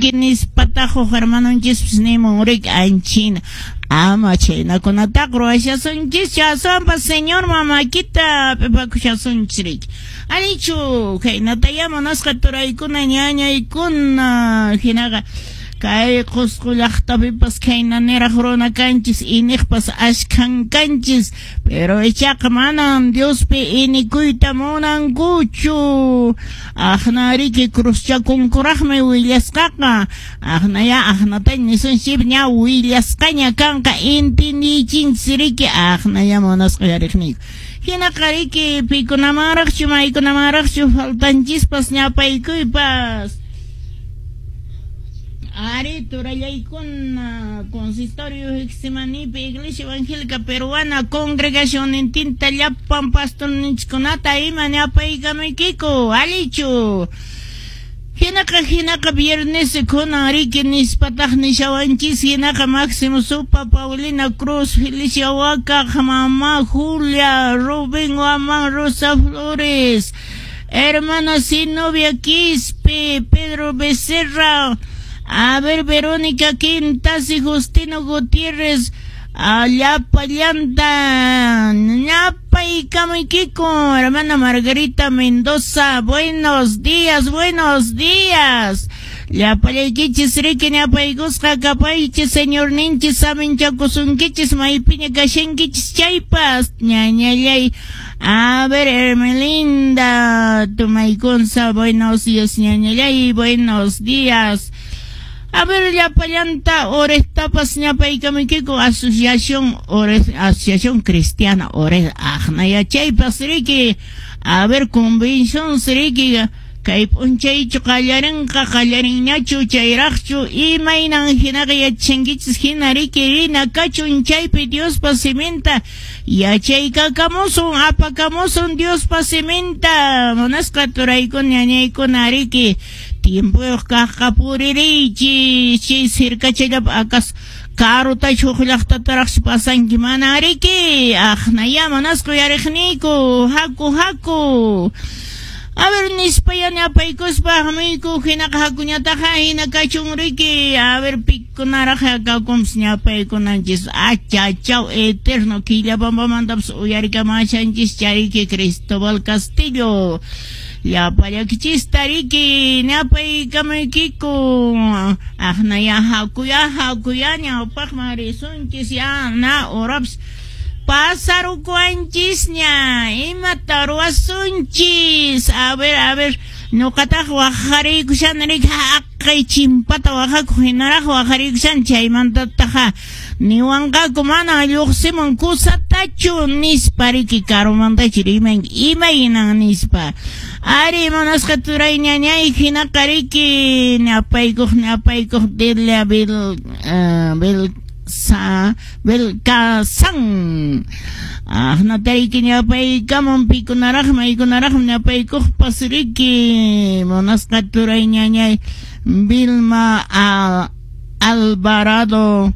Kashanki nispataq huk hermanonchispas nimun riki anchina. Ama chhaynakunataqa ruwashasunchis aswanpas Señorman makita hap'ipakushasunchis riki. Allinchu khaynatayá munasqa turaykuna ñañaykuna hinaqa kay Qusqu llaqtapipas khayna niraq runa kanchis iniqpas askhan kanchis pero ichaqa manan Diospi inikuyta munankuchu. Aqna riki cruzchakunkuraqmi willasqaqa. Aqnaya aqnataña nisunchis ña willasqaña kanqa entendiychinchis riki aqnaya munasqa yariqniyku. Hinaqa riki pikunamanraqchu maykunamanraqchu faltanchispas ñapaykuypas. Ari turallaykuna consistorio Getsemanípi Iglesia Evangélica Peruana congregacionnintinta llapan pastorninchikkunata ima ñapaykamuykiku allichu. Hinaqa hinaqa viernes kunan riki nispataq nishawanchis hinaqa Máximo Supa, Paulina Cruz, Felicia Huaca, Mamá Julia, Rubén Guamán, Rosa Flores, hermana Zenobia Quispe, Pedro Becerra, a ver Verónica Quintas y Justino Gutiérrez, llapallanta, ñapaykamuykiku, hermana Margarita Mendoza, buenos días, buenos días. Llapallaykichis riki ñapaykusqa kapaychis señorninchis saminchakusunkichis maypiña kashankichis chaypas ñañallay. A ver, Hermelinda, Tumaykunza, buenos días, ñañallay, buenos días. A ver, llapallanta, orestapas ñapaykamuykiku, asociación, ores, asociación cristiana, ores, aqnaya chaypas riki. A ver, convención riki, kay p'unchaychu qallarinqa qallarinñachu chayraqchu imaynan hinaqa yachankichis hina riki rina kachun chaypi Diospa siminta yachaykakamusun apakamusun Diospa siminta munasqa turaykuna ñañaykuna riki tiempoyuq kaqqa puririychis chay sirkachallapi akas karutachu huk llaqtataraqchu pasanki mana riki aqnaya munasqa uyariqniyku haku haku. A ver, nispa ya ñapaykuspa hamuyku hinaqa hakuñataqa hina kachun riki. A ver, pikunaraq kakumpas ñapaykunanchis achachaw eterno Quillabambamantapas uyarikamashanchis chariki Cristóbal Castillo. Llapallakichista riki ñapaykamuykiku. Aqnaya hakuya hakuya ñawpaqman risunchis ya na horapas pasarukuanchisña imata ruwasunchis. A ver ñuqataq waqariykushan riki haqay chimpata waqakuq hinaraq waqariykushan chaymantataq niwanqaku mana lluqsimun kusatachu nispa riki karumantachu rimanki imaynan nispa. Ari munasqa turay ñañay hinaqa riki ñapaykuq ñapaykuq Delia bil bil sa Belkazán. Aqnatariki ñapaykamun pikunaraqmi maykunaraqmi ñapaykuqpas riki munasqa turay ñañay Vilma Alvarado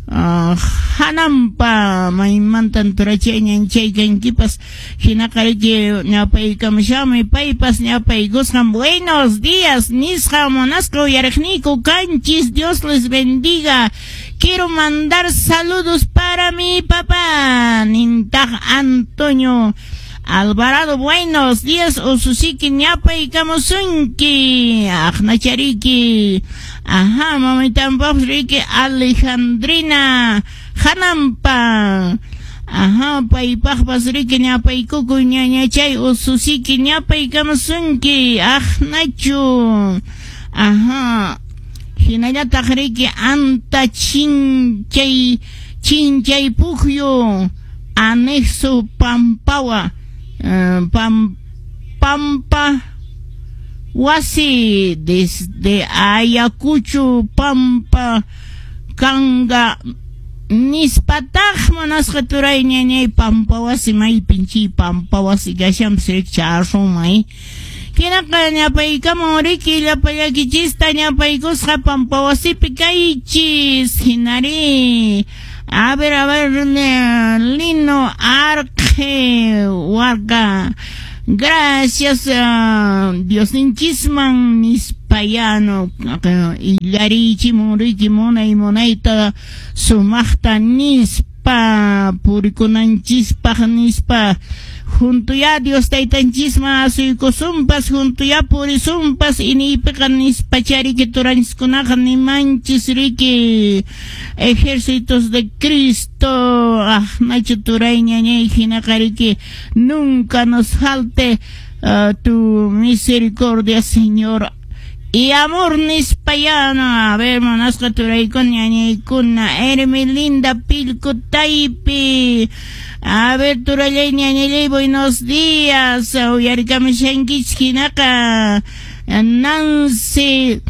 hanampa maymantan turachay ñanchay kankipas hinaqa riki ñapaykamushami paypas ñapaykusqan buenos días nisqa munasqa uyariqniyku kanchis Dios les bendiga. Quiero mandar saludos para mi papá nintaq Antonio Alvarado, buenos días, ususiki ñapaykamusunki aqnachariki. Ajá, mamitanpaqpas riki Alejandrina hanampa. Ajá, paypaqpas riki ñapaykukuy ñañachay ususiki ñapaykamusunki aqnachu. Ajá, hinallataq riki anta chinchay chinchay pukyu anexo pampawa Pampa wasi desde Ayacucho Pampa kanga nispataq munasqa turay ñañay Pampa wasi maypin chay Pampa wasi kashanpas riki charrumay. Hinaqa ñapaykamun riki llapallakichista ñapaykusqa Pampa wasipi kaychis hinari. A ver, Lino Arque Huarca. Gracias, Diosninchisman nispa nispayano illarichimun riki munay munayta sumaqta nispa purikunanchispaq nispa junto ya Dios taytanchisman asuykusunpas junto ya purisunpas iniypiqa nispa chariki turanchiskunaqa nimanchis riki ejércitos de Cristo aqnachu turay ñañay hinaqa riki nunca nos falte tu misericordia, Señor, y amor nispayana. A ver, monasqa turaykuna ñañaykuna Hermelinda Pilcutaypi. A ver, turallay ñañallay, buenos días. Uyarikamushankichik hinaqa Nancy.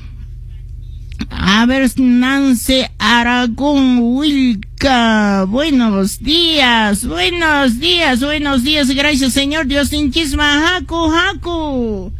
A ver, Nancy Aragón Wilca. Buenos días, buenos días, buenos días. Gracias, Señor Dios. Diosninchisman haku, haku.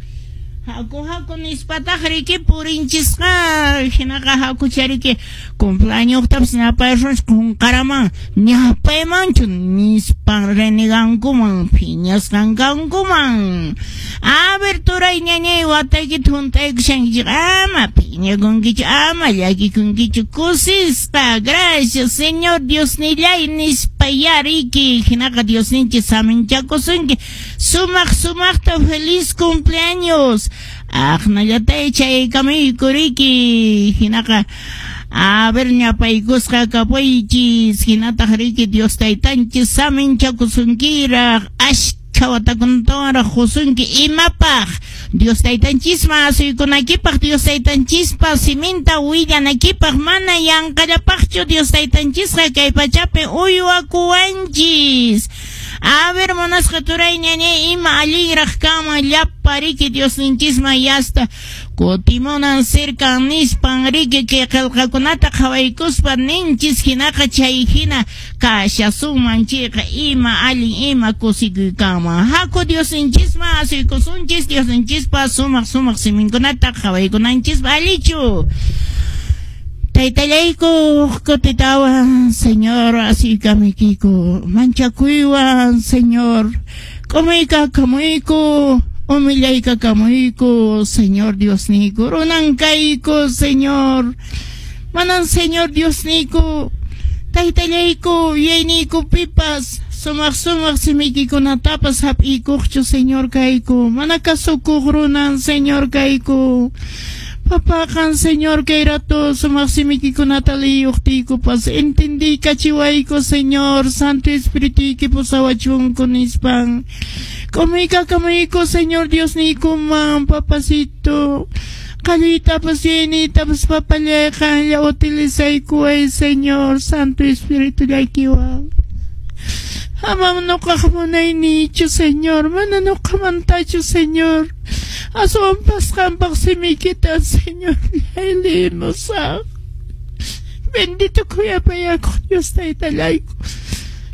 Haku, haku nispataq riki purinchisqa. Hinaqa haku chariki cumpleaños ñapaysunchik qunqaraman ñapaymanchu nispan renegankuman phiñasqan kankuman. A ver, turay ñañay wataykita hunt'aykushankichik ama phiñakunkichu ama llakikunkichu kusisqa. Gracias, Señor Diosnillay nispa ya riki hinaqa Diosninchik saminchakusunki sumaq sumaqta feliz cumpleaños. Aqnallatay chaykamuyku riki hinaqa a ver ñapaykusqa kapuychis hinataq riki Dios taytanchis saminchakusunkiraq ashkha watakunatawanraq qusunki imapaq Dios taytanchisman asuykunakipaq Dios taytanchispa siminta willanakipaq mana yanqallapaqchu Dios taytanchisqa kay pachapi uywakuwanchis. A ver, monasqa turay ñañay ima allinraq kanman llapa riki Diosninchisman yasta kutimunan cercan nispan riki kay qillqakunata qhawaykuspa ninchis hinaqa chay hina kashasunman chayqa ima allin ima kusikuy kanman. Haku Diosninchisman asuykusunchis Diosninchispa sumaq sumaq siminkunata qhawaykunanchispa allichu. Taytallayku kutitawan, Señor, asuykamuykiku manchakuywan, Señor, k'umuykakamuyku humillaykakamuyku, Señor Diosniyku, runan kayku, Señor, manan Señor Diosniyku, taytallayku yuyayniyku pipas sumaq sumaq simiykikunatapas hap'iykuqchu, Señor kayku, mana kasukuq runan, Señor kayku. Papaqan, Señor, kay rato sumaq simiykikunata liyuqtiykupas entendiykachiwayku, Señor, Santo Espirituyki pusawachunku nispan. K'umuykakamuyku, Señor Diosniykuman, papacito. Qalluytapas yuyayniytapas papallay qanlla utilizaykuway, Señor, Santo Espíritu llakiwan. Amam nuqaq munayniychu, Señor, mana nuqamantachu, Señor. Aswanpas qampaq simiykita, Señor, limusaq. Bendito khuyapayakuq Dios taytallayku.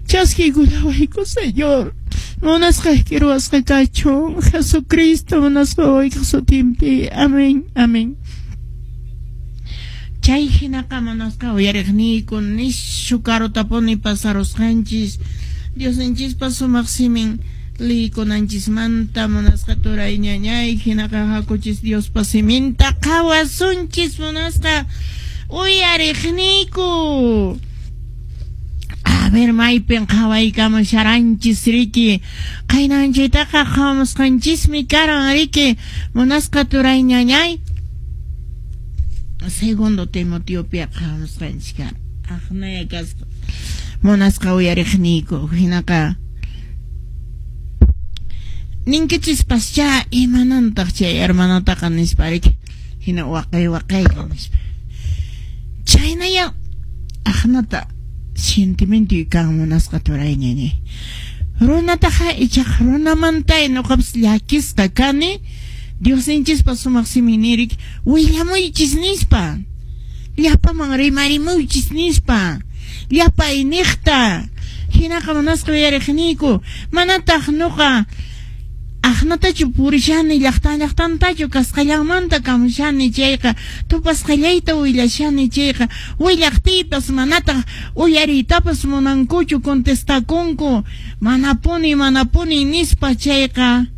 Chaskiykullawayku, Señor. Munasqayki ruwasqa kachun. Jesucristo munasqa wawaykiq sutinpi. Amén, amén. Chay hinaqa munasqa uyariqniyku nishu karutapuni pasarusqanchis. Diosninchispa sumaq simin liykunanchismanta munasqa turay ñañay hinaqa hakuchis Diospa siminta qhawasunchis munasqa uyariqniyku. A ver, maypin qhawaykamusharanchis riki qaynanchaytaqa qhawamusqanchismi karan riki munasqa turay ñañay. Segundo Timoteopi qhawamusqanchis karan aqnaya kasqa munasqa uyariqniyku hinaqa ninkichispascha imanantaq chay hermanataqa nispa riki hina waqay waqaylla nispa chaynaya aqnata sentimiento kan munasqa turay ñañay runataqa ichaqa runamanta nuqapas llakisqa kani Diosninchispa sumaq simin nirik willamuychis nispa llapaman rimarimuychis nispa llapa iniqta hinaqa munasqa uyariqniyku manataq nuqa aqnatachu purishani llaqtan llaqtantachu kasqallanmanta kamushani chayqa tupasqallayta willashani chayqa willaqtiypas manataq uyariytapas munankuchu contestakunku manapuni manapuni nispa chayqa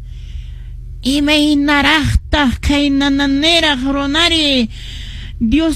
Imaynaraqtaq khaynananiraq runari Dios.